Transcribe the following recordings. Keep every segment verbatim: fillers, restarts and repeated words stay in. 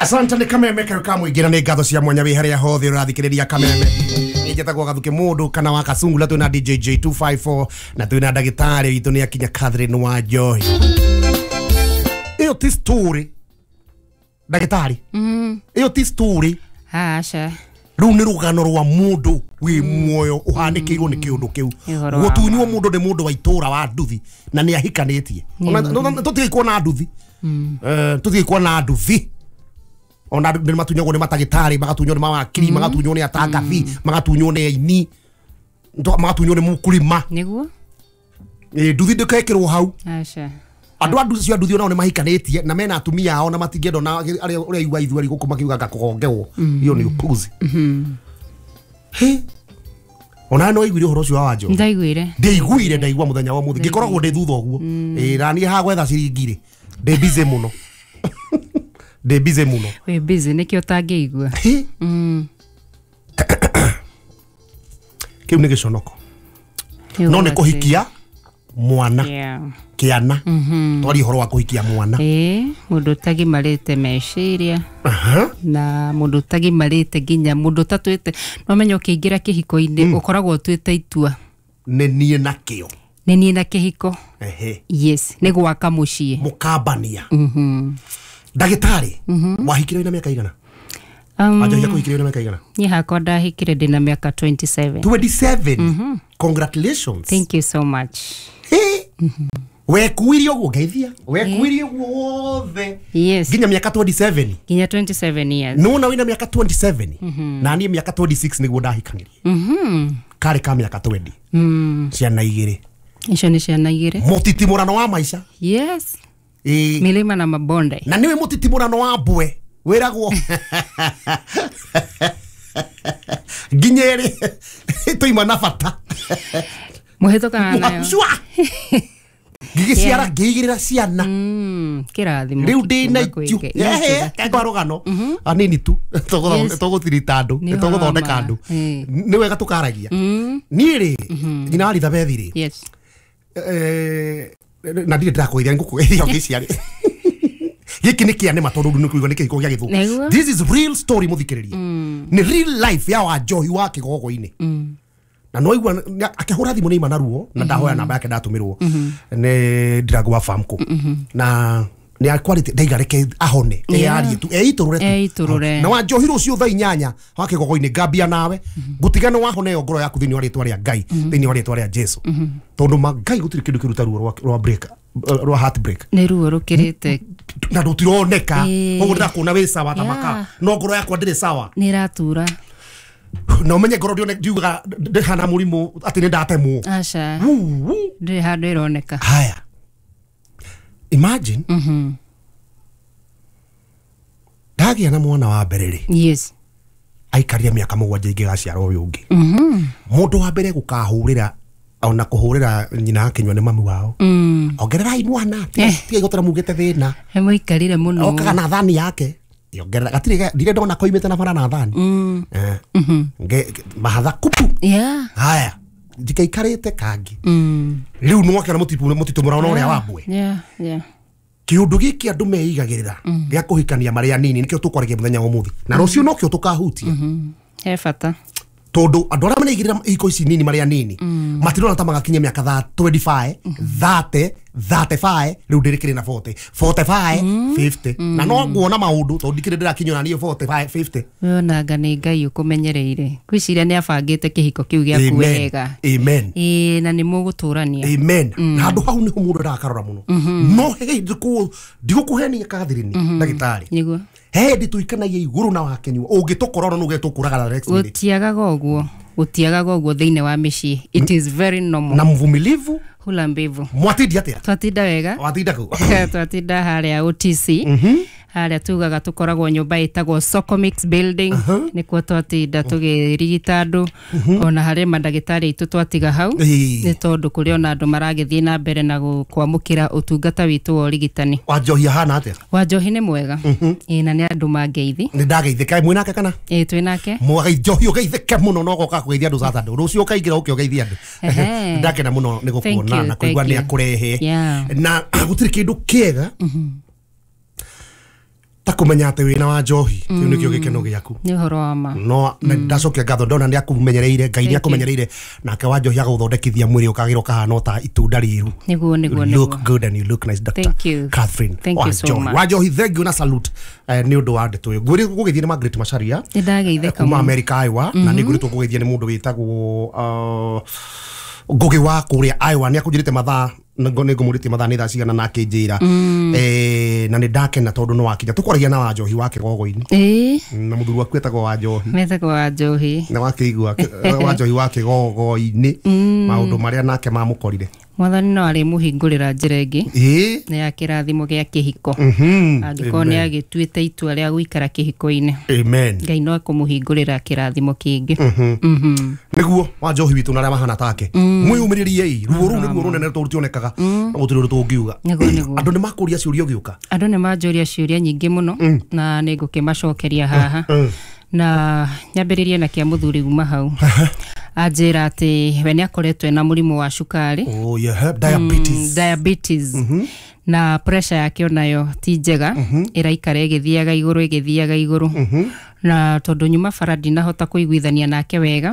Asante nĩ kameme kayo ka mũingĩ na nĩ ngatho cia mwanya wĩ harĩa hothe ũrathikĩrĩria kameme. Njĩtagwo Gathuke Mũndũ kana wa Kasungula, twĩna D J J two five four na twĩna ndagĩtarĩ witũ nĩ akinya Catherine wa Njohi. Ĩyo ti story ndagĩtarĩ. Ĩyo ti story. Aca. Rĩu nĩ rũgano rwa mũndũ wĩ muoyo ũhanĩkĩirwo nĩ kĩũndũ kĩu. Gũtunywo mũndũ nĩ mũndũ wa itũra wa nduthi na nĩ ahikanĩtie. Tũtigĩ kuona nduthi. Tũtigĩ kuona nduthi. Ona nĩ matunyagwo nĩ matagĩtarĩ, magatunywo nĩ mawakiri, magatunywo nĩ atangathi, magatunywo nĩ aini, magatunywo nĩ mũkulima. Nĩguo? Nduthi ndĩkekĩrwo hau. Aca. Andũ a nduthi cio nduthi onao nĩ mahikanĩtie na mena atumia ao na matingĩenda ona arĩa ũrĩa igua ithueri gũkũ makiuga ngakũgongewo. Iyo nĩ upuzi. Hĩ. Ona no iguire ũhoro ũcio wa Wanjohi. Ndaiguire. Ndaiguire ndaigua mũthenya wa ũmũthĩ. Ngĩkoragwo ndĩ thutha ũguo. Ĩĩ na niĩ haha gwetha ciringi rĩ. Ndĩ busy mũno. Ndĩ busy mũno. Wĩ busy nĩkĩo ũtangĩigua. Kĩu nĩ gĩconoko. No nĩ kũhikia mwana. Kĩana. Twarie ũhoro wa kũhikia mwana. Ĩĩ, mũndũ ũtagimarĩte meciria. Na mũndũ ũtagimarĩte nginya mũndũ ũtatuĩte. No menya ũkĩingĩra kĩhiko-inĩ ũkoragwo ũtuĩte itua. Nĩ niĩ na kĩo. Nĩ niĩ na kĩhiko. Ehe. Yes, nĩ gwaka mũciĩ. Mũkambania. Ndagĩtarĩ, wahikire wĩna mĩaka igana? Wanjohi akũhikire wĩna mĩaka igana? Niĩ hakwa ndahikire ndĩna mĩaka twenty-seven. twenty-seven? Congratulations. Thank you so much. Wekuirie ũguo ngeithia. Wekuirie ũguo wothe. Yes. Nginya mĩaka twenty-seven. Nginya twenty-seven years. Nĩwona wĩna mĩaka twenty-seven. Na niĩ mĩaka twenty-six nĩguo ndahikanirie. Karĩ ka mĩaka twenty. Ciana igĩrĩ. Icio nĩ ciana igĩrĩ. Mũtitimũrano wa maica. Yes. Milima na mabonde. Na nĩwe mũtitimũrano wa mbwe wĩragwo nginya ĩrĩ tũima na bata. Mũhĩtũkaga nayo. Ngĩgĩciara ngĩigĩrĩra ciana. Kĩrathimo. Rĩu ndĩna itũ. Kwa rũgano anini tu tũgũtirita andũ, tũgũthondeka andũ. Nĩ wega tũkaragia. Niĩ rĩ nyina wa Elizabeth rĩ. Yes. Na ndirĩ ndĩrakũgeithia ngũkũgeithia ũngĩciarĩ. Gĩkĩ nĩ kĩa nĩma tondũ nĩ kũigua nĩ kĩhiko gĩa gĩthũngũ. This is real story mũthikĩrĩria. Nĩ real life ya Wanjohi wa kĩgogo-inĩ. Na no igua akĩhũra thimũ nĩ ima na ruo na ndahoya namba yake ndatũmĩrwo nĩ Ndirango wa Famco. Na nĩ akwarĩte ndaiga reke ahone eyarie tu eitũrũre tu. Eitũrũre. Na Wanjohi rũciũ thaa inyanya wa kĩgogo-inĩ ngambia nawe ngũtiga nĩ wahone ĩyo ngoro yaku thĩinĩ wa rĩtwa rĩa Ngai, thĩinĩ wa rĩtwa rĩa Jesu. Tondũ ma Ngai gũtirĩ kĩndũ kĩruta ruo rwa break rwa heartbreak. Nĩ ruo rũkĩrĩte na rũtironeka ũguo ndĩrakuona wĩ sawa ta maka no ngoro yakwa ndĩrĩ sawa. Nĩ ĩratura. Na ũmenye ngoro ndiugaga ndĩhana mũrimũ atĩ nĩ ndatemwo. Aca. Ndĩrĩ handũ ĩroneka. Haya. Imagine. Ndagĩa na mwana wa mbere rĩ. Yes. Aikarire mĩaka mũgwanja ingĩgaciara ũyũ ũngĩ. Mũndũ wa mbere gũkahũrĩra ona kũhũrĩra nyina akĩnyua nĩ mami wao. Ongererai mwana, tiga gũtara mugĩte thĩna. Mũikarire mũno. Okaga na thani yake. Ongerera gatirĩ ndirĩ ndona koimĩte na bara na thani. Nge mahatha kupu. Yeah. Haya. Ndikaikarĩte kangĩ. Rĩu nĩwakĩona mũtitimũrano ũrĩa wa mbwe. Yeah, yeah. Kĩũndũ gĩkĩ andũ meigagĩrĩra gĩa kũhikania marĩ anini nĩkĩo tũkwaragia mũthenya wa ũmũthĩ. Na rũciũ nokĩo tũkahutia. He bata. Tondũ andũ arĩa mareigĩrĩra ihiko ici nini marĩ anini matirona ta magakinyia mĩaka twenty-five, thirty, thirty-five, rĩu ndĩrĩkĩrĩ na forty, forty-five, fifty. Na no nguona maũndũ tondũ ndikĩrĩ ndĩrakinyia niĩ forty-five, fifty. Wonanga nĩ Ngai ũkũmenyereire. Ngwĩciria nĩ abangĩte kĩhiko kĩu gĩaku wega. Amen. Ĩĩ na nĩ mũgũtũrania. Amen. Na handũ hau nĩho mũndũ arakarora mũno. No he ndigũkũhenia Catherine ndagĩtarĩ. Nĩguo. He hĩndĩ tũikanagia igũrũ na wakenyua ũngĩtũkora ona nũge tũkũraga next minute. Gũtiagaga ũguo. Gũtiagaga ũguo thĩinĩ wa mĩciĩ. It is very normal. Na mvumilivu hula mbivu. Mwatinda atĩa? Twatinda wega. Watinda kũ? Twatinda harĩa O T C. Harĩa tugaga tũkoragwo nyũmba ĩtagwo Socomix building. Nĩkuo twatinda tũgĩrigita andũ. Ona harĩ mandagĩtarĩ aitũ twatiga hau. Nĩ tondũ kũrĩ ona andũ maragĩthiĩ na mbere na kwamũkĩra ũtungata witũ wa ũrigitani. Wanjohi ahana atĩa? Wanjohi nĩ mwega. Ĩĩ na nĩ andũ mangeithi. Nĩ ndageithĩka mwĩ nake kana? Ĩĩ twĩ nake. Njohi ũgeithĩke mũno na ũgoka kũgeithia andũ Saturday. Rũciũ ũkaingĩra ũke ũgeithie andũ. Ndakena mũno nĩ gũkuona na kũigua nĩ akũrehe. Na gũtirĩ kĩndũ kĩega ta Kumenya atĩ wĩna wa njohi kĩu nĩkĩo gĩkeno gĩaku. Nĩ ũhoro wa ma. No ndacokia ngatho ndona nĩ akumenyereire, Ngai nĩ akumenyereire, nake wa njohi agũthondekithia mwĩrĩ ũkagĩra ũkahana ta itunda rĩru. Nĩguo nĩguo nĩguo. Look good and you look nice, Doctor Thank you. Catherine. Thank you so much. Wa njohi, thank you na salute nĩ ũndũ wa ndeto ĩyo. Ngwĩrĩ gũgĩthiĩ nĩ Margaret Macharia Nĩ ndageithĩka kuma America Iowa, na nĩ ngwĩrĩtwo gũgĩthiĩ nĩ mũndũ wĩtagwo Ngugi wa kũrĩa Iowa, nĩ akũnjĩrĩte mathaa nĩ ngũmũrĩtie mathaa nĩ thaa cigana na akĩnjĩra eh na nĩ ndakena tondũ nĩ wakinya. Tũkwaragia na wa njohi wa kĩgogo-inĩ ĩĩ na mũthuri waku etagwo wa njohi. Metagwo wa njohi na wakĩigua wa njohi wa kĩgogo-inĩ maũndũ marĩa nake mamũkorire. Mwathani no arĩmũhingũrĩra njĩra ĩngĩ ĩĩ nĩ ya kĩrathimo gĩa kĩhiko, angĩkorwo nĩ agĩtuĩte itua rĩa gũikara kĩhiko-inĩ. Amen. Ngai no akũmũhingũrĩra kĩrathimo kĩngĩ. Nĩguo wa njohi witũ na arĩa mahana take mwĩyũmĩrĩriei, ruo rũu nĩruo rũnene tũrũtionekaga na gũtirĩ ũndũ tũngiuga. Nĩguo nĩguo. Andũ nĩ makũria ciũria ũgĩũka. Andũ nĩ manjũria ciũria nyingĩ mũno na nĩ ngũkĩmacokeria haha na nyambĩrĩrie na kĩa mũthuri uma hau. Anjĩra atĩ we nĩ akoretwo na mũrimũ wa cukari. Oh yeah, diabetes. Mm, diabetes. Mm -hmm. Na pressure yake onayo ti njega, mm -hmm. ĩraikara ĩgĩthiaga igũrũ ĩgĩthiaga igũrũ. Mm -hmm. Na tondũ nyuma bara ndinahota kũiguithania nake wega,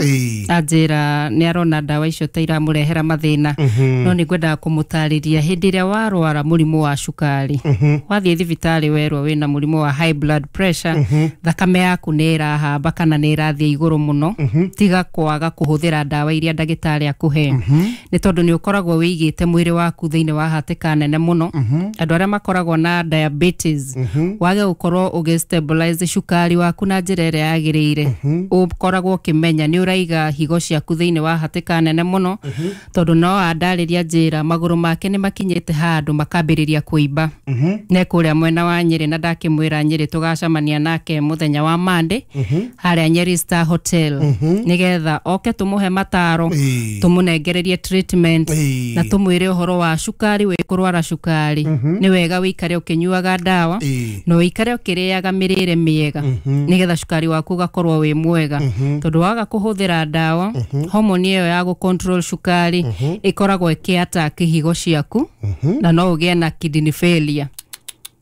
anjĩra nĩ arona ndawa icio ta iramũrehera mathĩna. Mm -hmm. No nĩ ngwendaga kũmũtarĩria hĩndĩ ĩrĩa warwara mũrimũ wa cukari, mm -hmm. wathiĩ thibitarĩ werwo wĩna mũrimũ wa high blood pressure, mm -hmm. thakame yaku nĩ ĩrahamba kana nĩ ĩrathiĩ igũrũ mũno, mm -hmm. tiga kwaga kũhũthĩra ndawa iria ndagĩtarĩ akũhe, mm -hmm. nĩ tondũ nĩ ũkoragwo wĩigĩte mwĩrĩ waku thĩinĩ wa hatĩka nene mũno. Mm -hmm. Andũ arĩa makoragwo na diabetes, mm -hmm. wage gũkorwo ũgĩ stabilize cukari waku na njĩra ĩrĩa yagĩrĩire, ũkoragwo ũkĩmenya nĩ ũraiga higo ciaku thĩinĩ wa hatĩka nene mũno, tondũ no andarĩria njĩra magũrũ make nĩ makinyĩte handũ makambĩrĩria kũimba. Ne kũrĩa mwena wa Nyĩrĩ, na ndakĩmwĩra Nyĩrĩ tũgacemania nake mũthenya wa Monday harĩa Nyeri Star Hotel, nĩgetha oke tũmũhe mataro, tũmũnengererie treatment na tũmwĩre ũhoro wa cukari, wĩ kũrwara cukari nĩ wega wĩikare ũkĩnyuaga ndawa na ũikare ũkĩrĩaga mĩrĩre mĩega nĩgetha cukari waku ũgakorwo wĩ mwega, tondũ waga kũhũthĩra ndawa, homoni ĩyo ya gũ control cukari ĩkoragwo ĩkĩ-attack higo ciaku na no ũgĩe na kidney failure.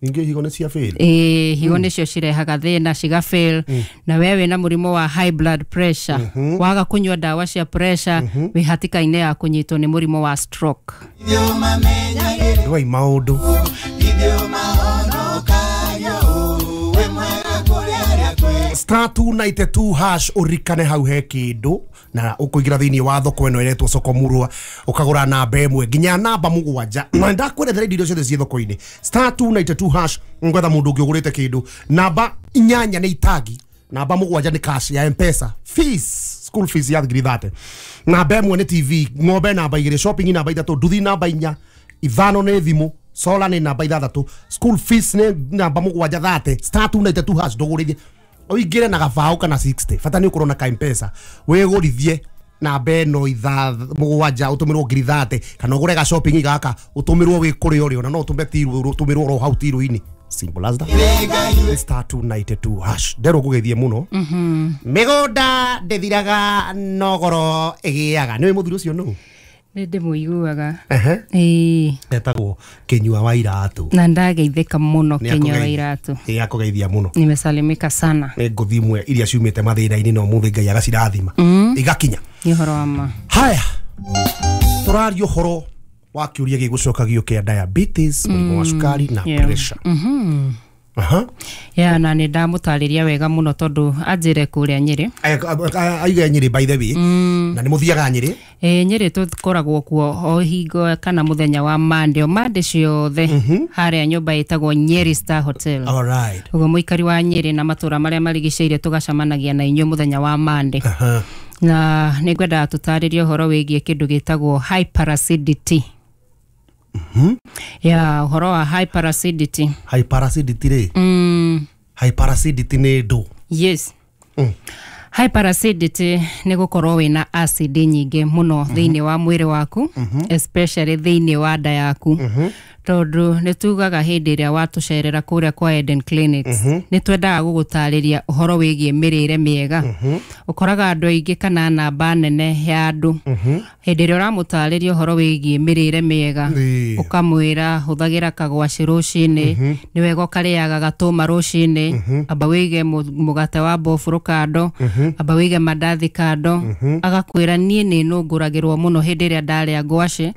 Ningĩ higo nĩ cia fail? Ĩĩ, higo nĩcio cirehaga thĩna, ciga fail. Na we wĩna mũrimũ wa high blood pressure, waga kũnyua ndawa cia pressure, wĩ hatĩka-inĩ ya kũnyitwo nĩ mũrimũ wa stroke. Ndwai maũndũ. Star two ninety two hash ũririkane hau he kĩndũ na ũkũingĩra thĩinĩ wa thoko ĩno ĩretwo soko murwa, ũkagũra namba ĩmwe nginya namba mũgwanja, na ndakwerethera indo iria ciothe ciĩ thoko-inĩ. Star two ninety two hash, ngwetha mũndũ ũngĩ ũgũrĩte kĩndũ. Namba inyanya nĩ itangi, namba mũgwanja nĩ cash ya M-Pesa, fees, school fees ya ngiri thate. Namba ĩmwe nĩ T V, ng'ombe namba igĩrĩ, shopping namba ithatũ, nduthi namba inya, ithano nĩ thimũ, solar nĩ namba ithathatũ, school fees nĩ namba mũgwanja thate. Star two ninety two hash ndũgũrithie ũingĩre na gabaũ kana sixty, bata nĩ ũkorwo na ka M-Pesa wĩgũrithie namba ĩno itha mũgwanja ũtũmĩrwo ngiri thate, kana ũgũre ga shopping gaka ũtũmĩrwo wĩ kũrĩa ũrĩ, ona no ũtũme tiru ũtũmĩrwo oro hau tiru-inĩ. Simple as that. Star two ninety two hash nderwo ngũgeithie mũno. Mĩgũnda ndĩthiraga no goro ĩgĩaga. Nĩũĩ mũthuri ũcio nũ? Nĩ ndĩmũiguaga. Ĩĩ. Etagwo Kinyua wa Iratũ. Na ndageithĩka mũno Kinyua wa Iratũ. Ĩĩ, akũgeithia mũno. Nimesalimika sana. Nĩ ngũthi imwe iria ciumĩte mathĩna-inĩ na ũmũthĩ Ngai agacirathima igakinya. Nĩ ũhoro wa ma. Haya, tũraria ũhoro wa kĩũria gĩgũcokagio kĩa diabetes, mũrimũ wa cukari na pressure. Aha. Ya, na nĩ ndamũtarĩria wega mũno tondũ anjĩre kũrĩa Nyĩrĩ. Aiga Nyĩrĩ by the way. Na nĩ mũthiaga Nyĩrĩ? Ĩĩ, Nyĩrĩ tũkoragwo kuo o hingo kana mũthenya wa Monday, o Monday ciothe harĩa nyũmba ĩtagwo Nyeri Star Hotel. All right. Ũguo mũikari wa Nyĩrĩ na matũra marĩa marigicĩirie tũgacemanagia na inyuĩ mũthenya wa Monday. Na nĩ ngwendaga tũtarĩrie ũhoro wĩgiĩ kĩndũ gĩtagwo hyperacidity. Mm-hmm. Ya, ũhoro wa hyperacidity. Hyperacidity rĩ? Mm. Hyperacidity nĩ ndũ? Yes. Mm. Hyperacidity nĩ gũkorwo wĩna acid nyingĩ mũno thĩinĩ wa mwĩrĩ waku, especially thĩinĩ wa nda yaku. Tondũ nĩ tugaga hĩndĩ ĩrĩa watũcerera kũrĩa kwa Eden Clinics, nĩ twendaga gũgũtarĩria ũhoro wĩgiĩ mĩrĩre mĩega. Ũkoraga andũ aingĩ kana namba nene ya andũ, hĩndĩ ĩrĩa ũramũtarĩria ũhoro wĩgiĩ mĩrĩre mĩega, Ĩĩ. ũkamwĩra hũthagĩra kagwacĩ rũcinĩ, nĩ wega ũkarĩaga gatũma rũcinĩ, amba wĩige mũ- mũgate wa mbofũrũ kando, amba wĩige mandathi kando. Agakwĩra niĩ nĩ nũngũragĩrwo mũno hĩndĩ ĩrĩa ndarĩa ngwacĩ,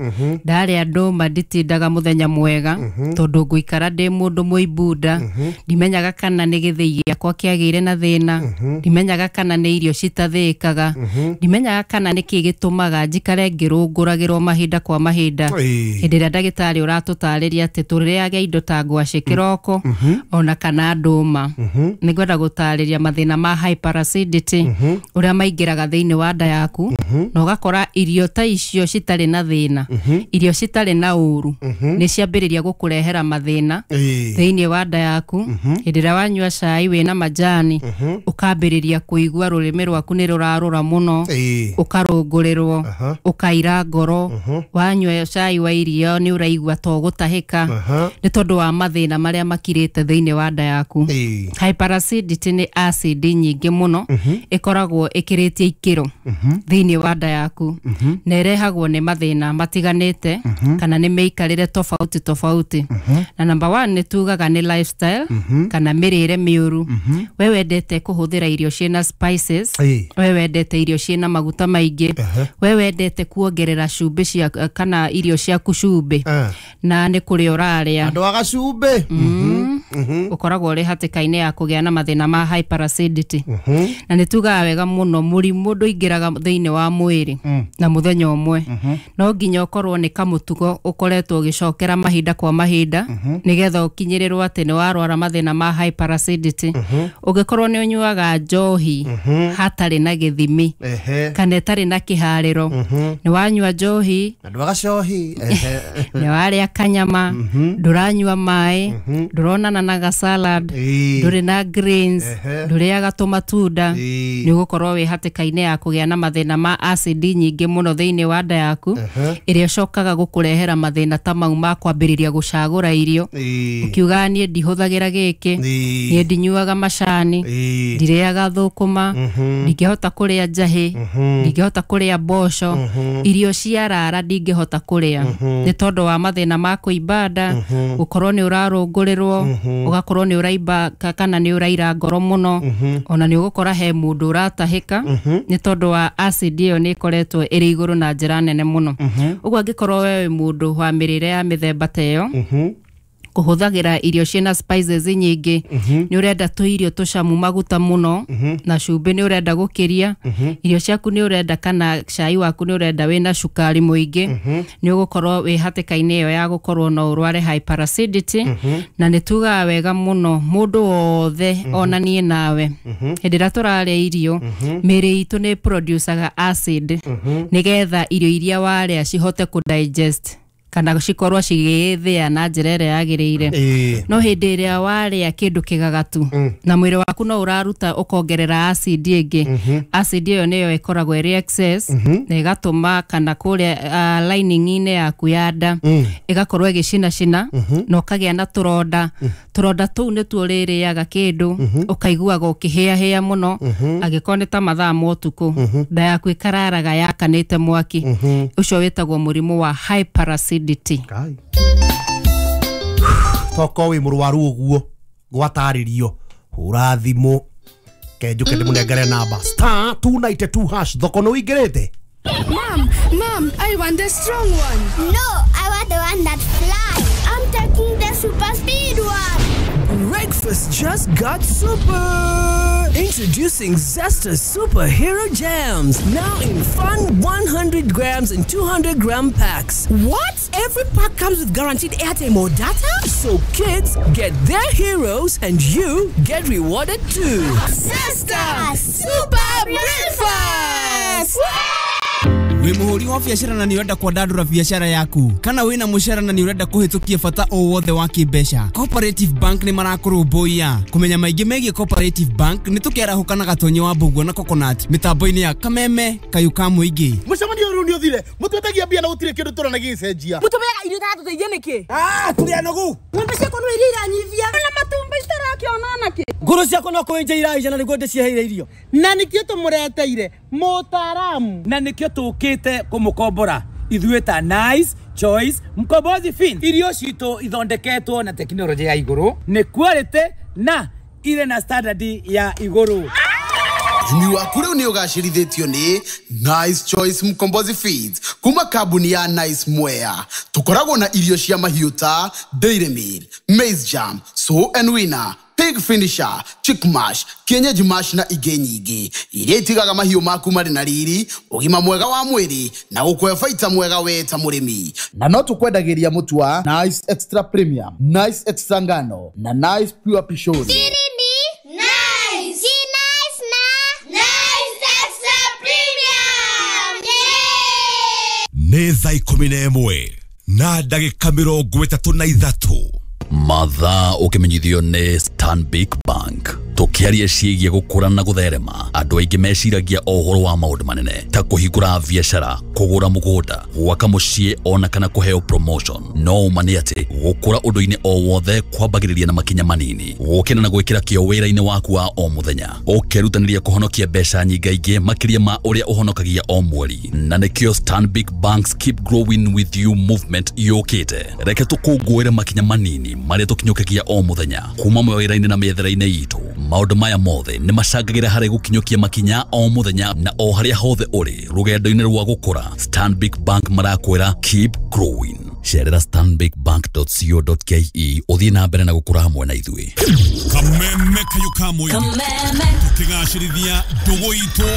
ndarĩa ndũma nditindaga mũthenya mwega, tondũ ngũikara ndĩ mũndũ mũimbunda, ndimenyaga kana nĩ gĩthĩi gĩakwa kĩagĩire na thĩna, ndimenyaga kana nĩ irio citathĩĩkaga, ndimenyaga kana nĩ kĩ gĩtũmaga njikare ngĩrũngũragĩrwo mahinda kwa mahinda. Ĩĩ. Hĩndĩ ĩrĩa ndagĩtarĩ ũratũtarĩria atĩ tũrĩage indo ta ngwacĩ kĩroko ona kana ndũma. Nĩ ngwenda gũtarĩria mathĩna ma hyperacidity ũrĩa maingĩraga thĩinĩ wa nda yaku, na ũgakora irio ta icio citarĩ na thĩna, irio citarĩ na ũru, nĩ ciambĩrĩria gũkũrehera mathĩna Ĩĩ. thĩinĩ wa nda yaku. Hĩndĩ ĩrĩa wanyua cai wĩna majani, ũkambĩrĩria kũigua rũrĩmĩ rwaku nĩ rũrarũra mũno, Ĩĩ. ũkarũngũrĩrwo, Aha. ũkaira ngoro. Wanyua cai wa irio nĩ ũraigua to gũtahĩka, Aha. nĩ tondũ wa mathĩna marĩa makirĩte thĩinĩ wa nda yaku. Ĩĩ. Hyperacidity nĩ acid nyingĩ mũno ĩkoragwo ĩkĩrĩtie ikĩro thĩinĩ wa nda yaku, na ĩrehagwo nĩ mathĩna matiganĩte kana nĩ mĩikarĩre tofauti tofauti. Na number one nĩ tugaga nĩ lifestyle kana mĩrĩre mĩũru. We wendete kũhũthĩra irio ciĩna spices, Ĩĩ. we wendete irio ciĩna maguta maingĩ, we wendete kuongerera cumbĩ cia kana irio ciaku cumbĩ, Eh. na nĩ kũrĩa ũrarĩa Andũ a gacumbĩ. Ũkoragwo ũrĩ hatĩka-inĩ ya kũgĩa na mathĩna ma hyperacidity. Na nĩ tugaga wega mũno mũrimũ ndũingĩraga thĩinĩ wa mwĩrĩ na mũthenya ũmwe, no nginya ũkorwo nĩ kamũtugo ũkoretwo ũgĩcokera mahinda kwa mahinda nĩgetha ũkinyĩrĩrwo atĩ nĩ warwara mathĩna ma hyperacidity. Ũngĩkorwo nĩ ũnyuaga njohi hatarĩ na gĩthimi Ehe. kana ĩtarĩ na kĩharĩro, nĩ wanyua njohi, Andũ a gacohi. Ehe. Nĩ warĩa kanyama, ndũranyua maĩ, ndũronana na gasalad, Ĩĩ. ndũrĩ na greens, Ehe. ndũrĩaga tũmatunda, Ĩĩ. nĩ ũgũkorwo wĩ hatĩka-inĩ ya kũgĩa na mathĩna ma acid nyingĩ mũno thĩinĩ wa nda yaku, ĩrĩa ĩcokaga gũkũrehera mathĩna ta mau ma kwambĩrĩria gũcagũra irio, Ĩĩ. ũkiugaga niĩ ndihũthagĩra gĩkĩ, Ĩĩ. niĩ ndinyuaga macani, Ĩĩ. ndirĩaga thũkũma, ndingĩhota kũrĩa njahĩ, ndingĩhota kũrĩa mboco, irio cia rara ndingĩhota kũrĩa, nĩ tondũ wa mathĩna ma kũimba nda, gũkorwo nĩ ũrarũngũrĩrwo, ũgakorwo nĩ ũraimba ka- kana nĩ ũraira ngoro mũno. Ona nĩ ũgũkora he mũndũ ũratahĩka nĩ tondũ wa acid ĩyo nĩ ĩkoretwo ĩrĩ igũrũ na njĩra nene mũno. Ũguo angĩkorwo we wĩ mũndũ wa mĩrĩre ya mĩthemba ta ĩyo, kũhũthagĩra irio ciĩna spices nyingĩ, nĩ ũrenda tũirio tũcamu maguta mũno na cumbĩ nĩ ũrenda gũkĩria, irio ciaku nĩ ũrenda kana cai waku nĩ ũrenda wĩna cukari mũingĩ, nĩ ũgũkorwo wĩ hatĩka-inĩ ĩyo ya gũkorwo no ũrware hyperacidity. Na nĩ tugaga wega mũno mũndũ wothe, ona niĩ nawe, hĩndĩ ĩrĩa tũrarĩa irio, mĩrĩ itũ nĩ producaga acid nĩgetha irio iria warĩa cihote kũ digest kana cikorwo cigĩthĩa na njĩra ĩrĩa yagĩrĩire. Ĩĩ. No hĩndĩ ĩrĩa warĩa kĩndũ kĩgagatu na mwĩrĩ waku no ũraruta ũkongerera acid ĩngĩ, acid ĩyo nĩyo ĩkoragwo ĩrĩ excess na ĩgatũma kana kũrĩa uh, lining-inĩ yaku ya nda ĩgakorwo ĩgĩcinacina na ũkagĩa na tũronda. Tũronda tũu nĩtuo ũrĩrĩaga kĩndũ ũkaiguaga ũkĩhĩahĩa mũno, angĩkorwo nĩ ta mathaa ma ũtukũ, nda yaku ĩkararaga yakanĩte mwaki. Ũcio wĩtagwo mũrimũ wa hyperacidity. Kai. Toko wĩ mũrwaru ũguo gwatarĩrio, hũra thimũ kenjuke ndĩmũnengere namba star two nine two hash. Thoko nĩ ũingĩrĩte. Mom, Mom, I want the strong one. No, I want the one that flies. I'm taking the super speed one. Breakfast just got super! Introducing Zesta Superhero Jams, now in fun one hundred grams and two hundred gram packs. What? Every pack comes with guaranteed airtime or data? So kids get their heroes and you get rewarded too. Zesta Super Breakfast! Wĩ mũhũri wa biacara na nĩ ũrenda kwandandũra biacara yaku, kana wĩna mũcara na nĩ ũrenda kũhĩtũkia bata o wothe wa kĩmbeca, Cooperative Bank nĩ marakũrũmbũiya. Kũmenya maingĩ megiĩ Cooperative Bank nĩ tũkĩarahũka na Gatonye wa Mbũguo na Coconut mĩtambo-inĩ ya Kameme Kayũ ka Mũingĩ. Mũcemanio rĩu nĩ ũthire, mũtwetagia mbia na gũtirĩ kĩndũ tũrona gĩgĩcenjia. Mũtũmeaga irio itatũteithia nĩkĩ? Ah, tũrĩ anogu. Ng'ombe ciakwa no iria iranyivia na matumbĩ citarakĩona nakĩ. Ngũrũ ciakwa no kũenja iraija na nĩguo ndĩciheire irio. Na nĩkĩo tũmũreteire mũtaaramu, na nĩkĩo tũkĩte kũmũkombora ithuĩ ta Nice Choice Mkombozi Fin. Irio citũ ithondeketwo na tekinoronjĩ ya igũrũ, nĩ quality na irĩ na standard ya igũrũ. Ũrĩmi waku rĩu nĩ ũgacĩrithĩtio nĩ Nice Choice Mkombozi Feeds kuma kambuni ya Nice Mwea. Tũkoragwo na irio cia mahiũ ta Dairy Meal, Maize Jam, Sow and Winner, Pig Finisher, Chick Mash, Kienyeji Mash na ingĩ nyingĩ iria itigaga mahiũ maku marĩ na riri, ũgima mwega wa mwĩrĩ na gũkũhe baita mwega we ta mũrĩmi. Na no tũkwendagĩria mũtu wa Nice Extra Premium, Nice Extra Ngano na Nice Pure Pishori. Nice. Nice na Nice Extra Premium. Yeah! Nĩ thaa ikũmi na ĩmwe na ndagĩka mĩrongo ĩtatũ na ithatũ. Mathaa ũkĩmenyithio nĩ Stanbic Bank. Tũkĩaria ciĩgiĩ gũkũra na gũtherema, andũ aingĩ meciragia o ũhoro wa maũndũ manene ta kũhingũra biacara, kũgũra mũgũnda, gwaka mũciĩ ona kana kũheo promotion. No ũma nĩ atĩ gũkũra ũndũ-inĩ o wothe kwambagĩrĩria na makinya manini, gũkĩra na gwĩkĩra kĩo wĩra-inĩ waku wa o mũthenya, ũkerutanĩria kũhonokia mbeca nyingaingĩ makĩria ma ũrĩa ũhonokagia o mweri. Na nĩkĩo Stanbic Bank's Keep Growing With You movement yũkĩte. Reke tũkũngũĩre makinya manini marĩa tũkinyũkagia o mũthenya kuma mawĩra-inĩ na mĩethere-inĩ itũ. Maũndũ maya mothe nĩ macangagĩra harĩ gũkinyũkia makinya o mũthenya na o harĩa hothe ũrĩ rũgendo-inĩ rwa gũkũra. Stanbic Bank marakwĩra keep growing. Cerera stanbic bank dot co dot ke ũthiĩ na mbere na gũkũra hamwe na ithuĩ. Kameme Kayũ ka Mũingĩ, tũkĩgacĩrithia ndũgũ itũ.